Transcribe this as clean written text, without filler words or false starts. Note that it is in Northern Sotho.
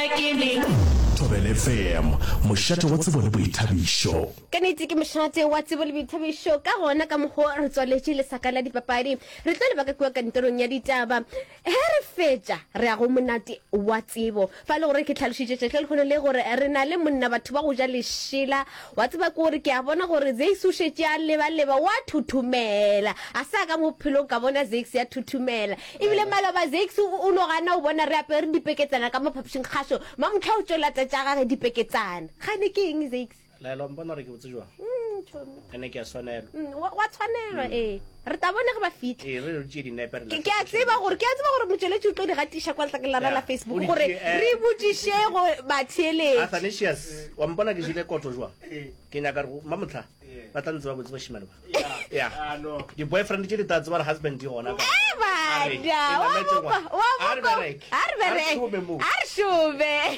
Thobela FM, mošate wa tsebo le boithabišo. Ka nnete ke mošate wa tsebo le boithabišo. Ka gona ka mokgo re tswaletše lesaka la dipapadi, re tlo leba ka kua kantorong ya ditaba. Ge re fetša, re ya go monate wa tsebo. Fa e le gore ke hlalošitše tšatši la lehono le gore re na le monna batho ba go ja lešela. Wa tseba ke gore ke a bona gore Zakes o šetše a lebaleba, wa thuthumela. A sa ka mo bophelong ka bona Zakes a thuthumela. Ebile maloba Zakes o no gana o bona re apere dipeketsana ka mo phapošing kgašo. Mamohla o tšo lata tša gage dipeketsana. Gane ke eng Zakes? Laela, wa mpona gore ke botse jwang? Mm, chomi. Ene ke a swanelwa. Mm, wa, wa tshwanelwa, mm. ee. Re tla bona ge ba fihla. Ee, re re tšee dinepe re Ke, ke a tseba gore, ke a tseba gore motšweletši o tlo di gatiša kwa letlakeng la rena la Facebook gore eh. re botšiše go batheeletši. Athanasius, wa mpona ke jele koto jwang? Ke nyaka gore mamohla ba tla ntseba botse bashimane ba. Ya. Di-boyfriend tše di tla tseba gore husband di gona ka. Eh, bada, wa bopa, wa bopa. A re bereke. A re šome.